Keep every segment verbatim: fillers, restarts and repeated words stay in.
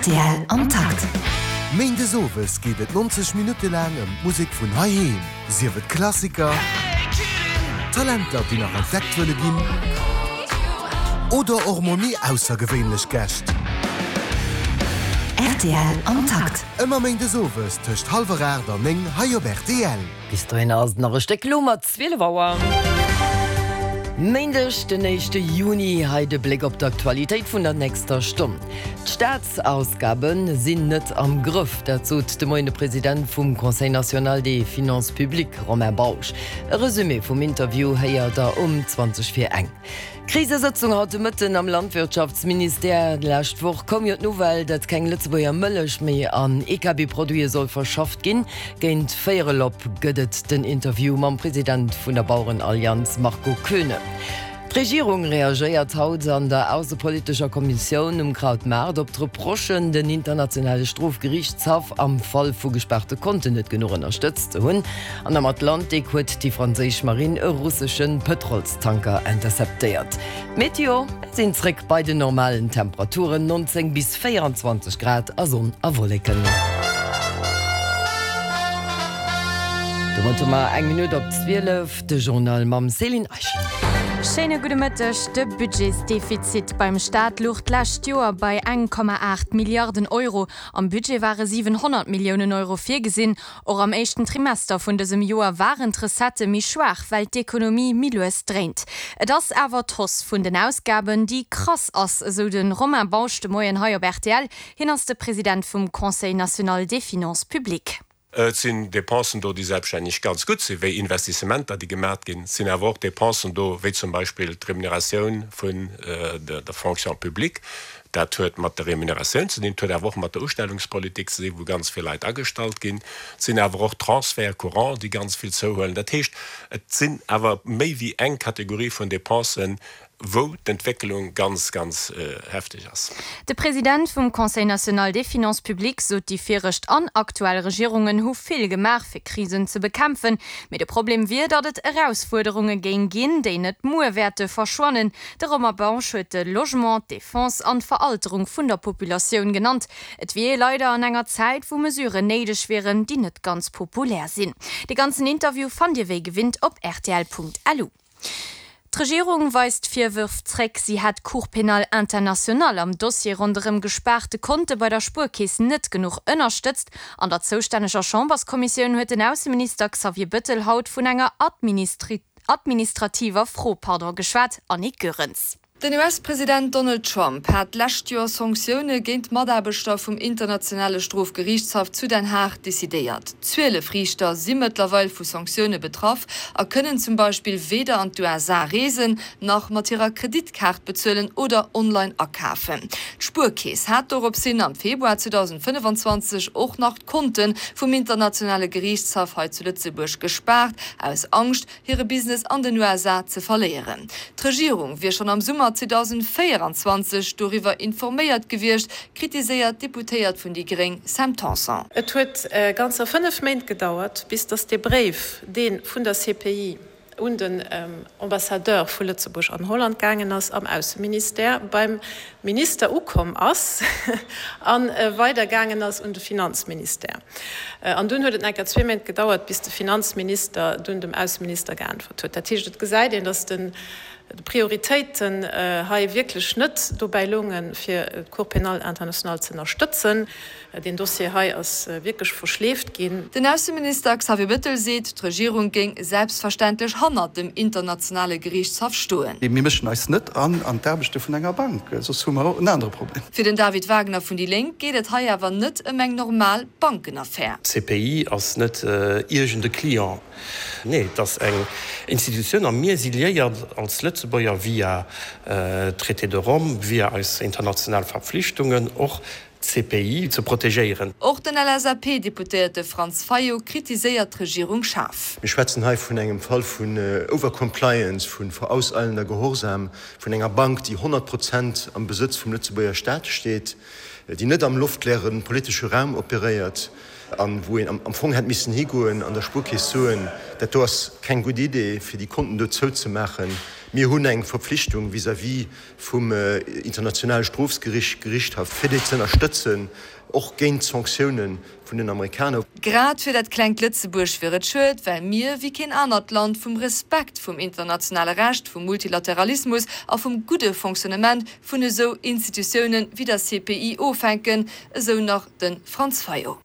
Rtl am Takt. Méindes owes geet et nonzeg Minutte laang ëm d'Musek vun heiheem, sief et Klassiker, Talenter, déi nach entdeckt wëlle ginn, oder och mol méi aussergewéinlech Gäscht. Rtl am Takt. Ëmmer méindes owes tëscht hallwer aacht an néng hei op rtl. Bis dohinner ass et nach e Stéck, elo mat zwielef Auer. Méindeg den éischte Juni, hei de Bléck op d'Aktualitéit vun der nächster Stonn. D'Staatsausgabe sinn net am Grëff, dat sot de Moien de President vum Conseil national des finances publiques, Romain Bausch. E Resumé vum Interview héiert der um zwanzeg vir eng. Krisesëtzung haut de Mëtten am Landwirtschaftsministère. D'lescht Woch koum jo d'Nouvelle, datt keng Lëtzebuerger Mëllech méi an E K B-Produite soll verschafft ginn. Géint véierel op gëtt et den Interview mam President vun der Bauerenallianz Marco Koeune. D'Regierung reagéiert haut an der aussepolitescher Kommissioun um Krautmaart op d'Reprochen, den internationale Strofgeriichtshaff am Fall vu gespaarte Konten net genuch ënnerstëtzt ze hunn. An am Atlantik huet déi franséisch Marinn e russesche Pëtrolstanker interceptéiert. D'Meteo, Mir sinn zréck bei den normalen Temperaturen, neunzéng bis véierenzwanzeg Grad a Sonn a Wolleken. Domat hu mer eng Minutt op zwielef, de Journal mam Céline Eischen. Schéine gudde Mëtteg. De Budgetsdefizit beim Staat louch d'lescht Joer bei eng Komma aacht Milliarden Euro. Am Budget ware siwenhonnert Milliounen Euro virgesinn. Och am éischten Trimester vun dësem Joer waren d'Recettë méi schwaach, well d'Ekonomie méi lues dréint. Et ass awer d'Hausse vun den Ausgaben, déi krass ass, esou de Romain Bausch de Moien hei op R T L. Hien ass de President vum Conseil national des finances publiques. Et sinn Dépensen do, déi selbststänneg ganz gutt sinn, wéi Investissementer, déi gemaach ginn. Et sinn awer och Dépensen do, wéi zum Beispill d'Remuneratioun vun der Fonction publique. Dat huet mat der Remuneratioun ze dinn, et huet awer och mat der Ustellungspolitik ze dinn, wou ganz vill Leit agestallt ginn. Et sinn awer och Transferts courants, déi ganz vill zouhuelen. Dat heescht, et sinn awer méi wéi eng Kategorie vun Dépensen, wou d'Entwécklung ganz, ganz hefteg ass. De President vum Conseil national des finances publiques sot, déi viregt an aktuell Regierungen hu vill gemaach fir Krisen ze bekämpfen, mee de Problem wier, datt et Erausfuerderunge géing ginn, déi net muer wäerte verschwannen. De Romain Bausch huet de Logement, d'Defense an d'Veralterung vun der Populatioun genannt. Et wier ee leider an enger Zäit, wou Mesuren néideg wieren, déi net ganz populär sinn. De ganzen Interview fannt Dir wéi gewinnt op rtl Punkt L U. D'Regierung weist Virwërf zréck, si hätt d'Cour pénale internationale am Dossier ronderëm gespaarte Konte bei der Spuerkeess net genuch ënnerstëtzt. An der zoustänneger Chamberskommissioun huet den Ausseminister Xavier Bëttel haut vun enger administrativer Fro pardon geschwat. Annick Goerens. Den U S-President Donald Trump hat d'lescht Joer Sanktioune géint Mataarbechter vum internationale Strofgeriichtshaff zu Den Haag decidéiert. Zwielef Riichter si mëttlerweil vu Sanktioune betraff a kënnen zum Beispill weder an d'U S A reesen, nach mat hirer Kreditkaart bezuelen oder online akafen. D'Spuerkeess hat doropshin am Februar zweedausendfënnefenzwanzeg och nach d'Konte vum internationale Geriichtshaff hei zu Lëtzebuerg gespaart, aus Angscht, hire Business an den U S A ze verléieren. D'Regierung wier schonn am Summer zweedausendvéieranzwanzeg doriwwer informéiert gewiescht, kritiséiert d'Deputéiert vun déi Gréng Sam Tanson. Et huet ganzer fënnef Méint gedauert, bis datt dee Bréif, dee vun der C P I un den Ambassadeur vu Lëtzebuerg an Holland gaangen ass, am Ausseministère beim Minister ukomm ass a weidergaangen ass un de Finanzministère. An dunn huet et nach eng Kéier zwee Méint gedauert, bis de Finanzminister dunn dem Ausseminister geäntwert huet. Dat heescht, et gesäit een, datt d'Prioritéiten hei wierklech net dobäi loungen, fir d'Cour pénale internationale ze ënnerstëtzen. Deen Dossier hei ass wierklech verschleeft ginn. Den Ausseminister Xavier Bettel seet, d'Regierung géing selbstverständlech hannert dem internationale Geriichtshaff stoen. Mir mëschen eis net an an d'Aarbechte vun enger Bank, soss hu mer en anere Problem. Fir den David Wagner vun déi Lénk geet et hei awer net ëm eng normal Bankenaffär. D'C P I ass net iergend e Client. Nee, et ass eng Institutioun a mir si liéiert als Lëtzebuerger via Traité de Rome, via eis international Verpflichtungen och d'C P I ze protegéieren. Och den L S A P-Deputéierte Franz Fayot kritiséiert d'Regierung schaarf. Mir schwätzen hei vun engem Fall vun Overcompliance, vu vorauseilender Gehorsam, vun enger Bank, déi honnert Prozent am Besëtz vum Lëtzebuerger Staat steet, déi net am loftleere politesche Raum operéiert an wou een am Fong hätt missen higoen an der Spuerkeess soen, dat do ass keng gutt Idee, fir déi Konten do zouzemaachen. Mir hunn eng Verpflichtung vis-à-vis vum Internationale Strofsgerichthaff, fir déi ze ënnerstëtzen, och géint d'Sanktioune vun den Amerikaner. Grad fir dat klengt Lëtzebuerg wier et schued, well mir, wéi keen anert Land, vum Respekt vum internationale Recht, vum Multilateralismus a vum gudde Fonctionnement vun esou Institutiounen wéi der C P I ofhänken, esou nach de Franz Fayot.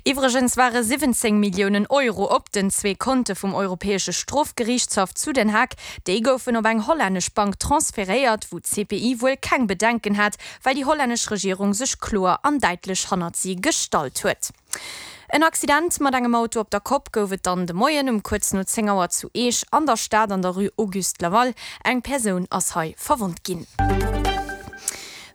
Iwwregens ware siwwenzéng Milliounen Euro op den zwee Konte vum Europäesche Strofgeriichtshaff zu Den Haag. Déi goufen op eng hollännesch Bank transferéiert, wou d'C P I wuel keng Bedenken hat, well déi hollännesch Regierung sech kloer an däitlech hannert si gestallt huet. En Accident mat engem Auto op der Kopp gouf et dann de Moien um kuerz no zéng Auer zu Eech an der Stad an der Rue Auguste Laval. Eng Persoun ass hei verwonnt ginn.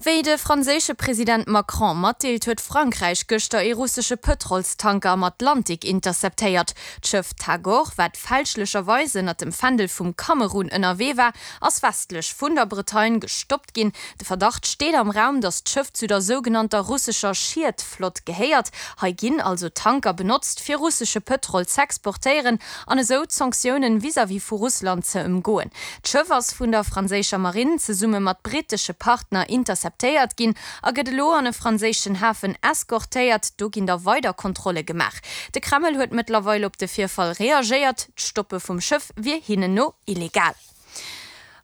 Wéi de franséische President Macron matdeelt, huet Frankräich gëschter ee russesche Pëtrolstanker am Atlantik interceptéiert. D'Schëff Tagor, wat fälschlecherweis ënnert dem Fändel vum Kamerun ënnerwee war, ass westlech vun der Bretagne gestoppt ginn. De Verdacht steet am Raum, datt d'Schëff zu der sougenannter russescher Schietflott gehéiert. Hei ginn also Tanker benotzt, fir russesche Pëtrol z'exportéieren an esou d'Sanktiounen vis-à-vis vu Russland ze ëmgoen. D'Schëff ass vun der franséischer Marinn zesumme mat brittesche Partner interceptéiert ginn a gëtt elo an e franséischen Hafen eskortéiert. Do ginn da weider Kontrolle gemaach. De Kreml huet mëttlerweil op de Virfall reagéiert, D'Stoppe vum Schëff wier hinnen no illegal.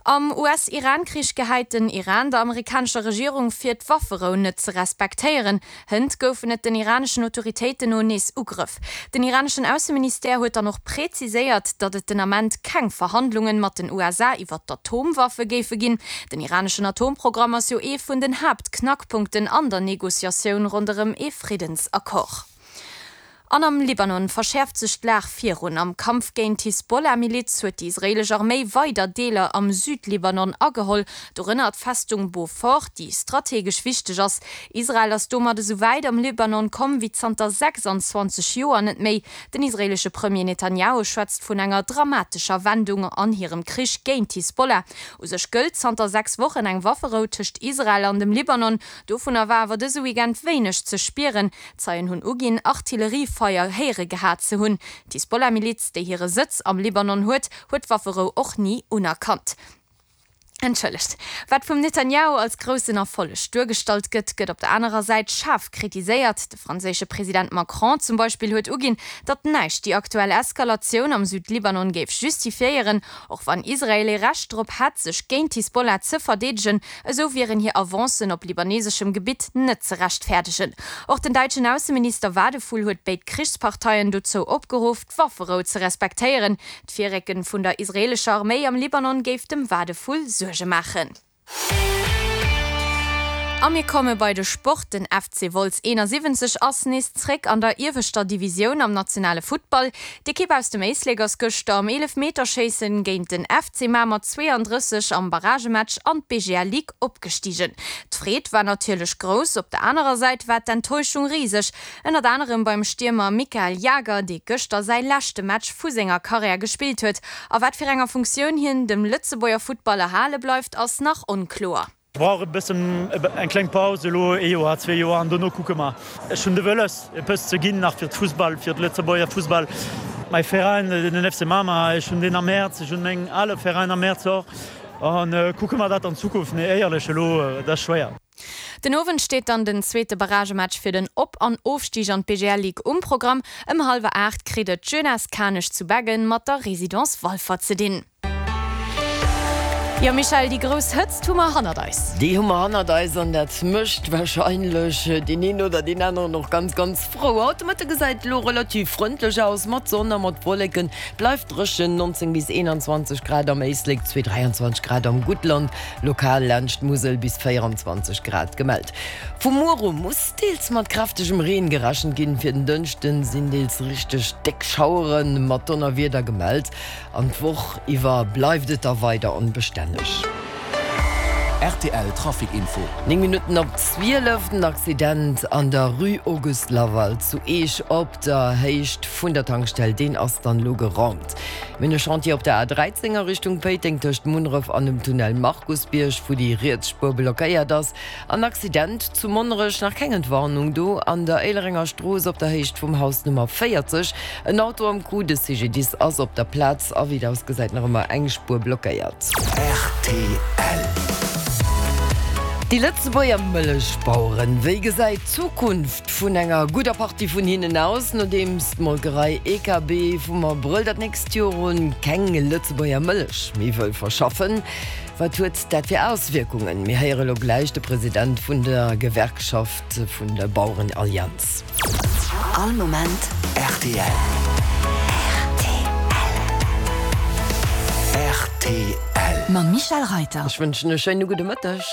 Am U S-Iran-Krich gehäit den Iran der amerikanescher Regierung vir, d'Wafferou net ze respektéieren. Hënt goufen et den iraneschen Autoritéiten no nees Ugrëff. Den iraneschen Ausseministère huet dann och präziséiert, datt et den Ament keng Verhandlunge mat den U S A iwwer d'Atomwaffe géife ginn. Den iraneschen Atomprogramm ass jo ee vun den Haaptknackpunkten an der Negociatioun ronderëm ee Friddensaccord. An am Libanon verschäerft sech d'Lag virun. Am Kampf géint d'Hisbollah-Miliz huet déi israeelesch Arméi weider Deeler am Südlibanon ageholl, dorënner d'Festung Beaufort, déi strategesch wichteg ass. Israel ass domat esou wäit am Libanon komm wéi zanter sechsanzwanzeg Joer net méi. Den israeelesche Premier Netanjahu schwätzt vun enger dramatescher Wendung an hirem Krich géint d'Hisbollah. U sech gëllt zanter sechs Wochen eng Wafferou tëscht Israel an dem Libanon. Dovunner war awer dëse Weekend wéineg ze spieren. Zeien hunn uginn, Artilleriefeier héiere gehat ze hunn. D'Hisbollah-Miliz, déi hire Sëtz am Libanon huet, huet d'Wafferou och ni unerkannt. Entschëllegt. Wat vum Netanjahu als groussen Erfolleg duergestallt gëtt, gëtt op der anerer Säit schaarf kritiséiert. De franséische President Macron zum Beispill huet uginn, datt näischt déi aktuell Eskalatioun am Südlibanon géif justifiéieren. Och wann Israel ee Recht drop hätt, sech géint d'Hisbollah ze verdeedegen, esou wieren hir Avancen op libaneseschem Gebitt net ze rechtfäerdegen. Och den däitschen Ausseminister Wadephul huet béid Krichsparteien dozou opgeruff, d'Wafferou ze respektéieren. D'Virrécke vun der israeelescher Arméi am Libanon géif dem Wadephul Suerge maachen. A mir komme bei de Sport. Den F C Wolz eenansiwwenzeg ass nees zréck an der ieweschter Divisioun am nationale Futtball. D'Ekipp aus dem Éislek ass gëschter am Eelefmeterschéisse géint den F C Mamer zweeandrësseg am Barragematch an d'B G L Ligue opgestigen. D'Freed war natierlech grouss, op der anerer Säit war d'Enttäuschung riseg. Ënnert anerem beim Stiermer Mikael Jager, dee gëschter säi leschte Match vu senger Karriär gespillt huet. A wat fir enger Funktioun hien dem Lëtzebuerger Futtball erhale bleift, ass nach onkloer. Ech brauch e bëssen eng kleng Paus, elo ee Joer, zwee Joer, an dono kucke mer. Ech hunn de Wëlles, eppes ze ginn nach fir d'Fussball, fir de Lëtzebuerger Fussball. Mäi Veräin, den F C Mamer, ech hunn deen am Häerz, ech hunn meng ale Veräin am Häerz och. An kucke mer dat an Zukunft, mee éierlech elo, dat ass schwéier. Den Owend steet dann den zweete Barragematch fir den Op an Ofstig an d'B G L Ligue um Programm. Ëm hallwer aacht kritt et d'Jeunesse Kanech zu Beggen mat der Résidence Walfer ze dinn. Jo Michèle, déi grouss Hëtzt hu mer hannert eis. Déi hu mer hannert eis an dat mécht warscheinlech deen een oder deen aneren och ganz ganz frou. Haut de Mëtte gesäit elo relativ frëndlech aus, mat Sonn a mat Wolleken. Bleift dréchen, nonzéng bis eenanzwanzeg Grad am Éislek, zwee dräianzwanzeg Grad am Guttland, lokal laanscht d'Musel bis véieranzwanzeg Grad gemellt. Vu muer u muss deels mat kräftegem Reen gerechent ginn. Fir den Dënschden sinn deels richteg déck Schauere mat Donnerwieder gemellt. An d'Woch iwwer bleift et da weider onbestänneg. Rtl Trafic Info. Néng Minutten op zwielef, den Accident an der Rue Auguste Laval zu Eech op der Héicht vun der Tankstell, deen ass dann elo geraumt. Mir hunn e Chantier op der A dräizéng a Richtung Péiteng tëscht Munneref an dem Tunnel Markusbierg, wou déi riets Spuer blockéiert ass. An Accident zu Monnerech, nach keng Entwarnung do, an der Éilerenger Strooss op der Héicht vum Haus Nummer véierzeg. En Auto am Coup, de C G D I S ass op der Plaz a wéi et ausgesäit nach ëmmer eng Spuer blockéiert. Rtl. Déi Lëtzebuerger Mëllechbaueren, wéi gesäit d'Zukunft vun enger gudder Partie vun hinnen aus, nodeems d'Molkerei E K B vum Abrëll dat nächst Joer un keng Lëtzebuerger Mëllech méi wëll verschaffen? Wat huet dat fir Auswierkungen? Mir héiere lo gläich de President vun der Gewerkschaft vun der Bauerenallianz. All Moment rtl. Rtl. Mam Michèle Reyter. Ech wënschen e schéine gudde Mëtteg.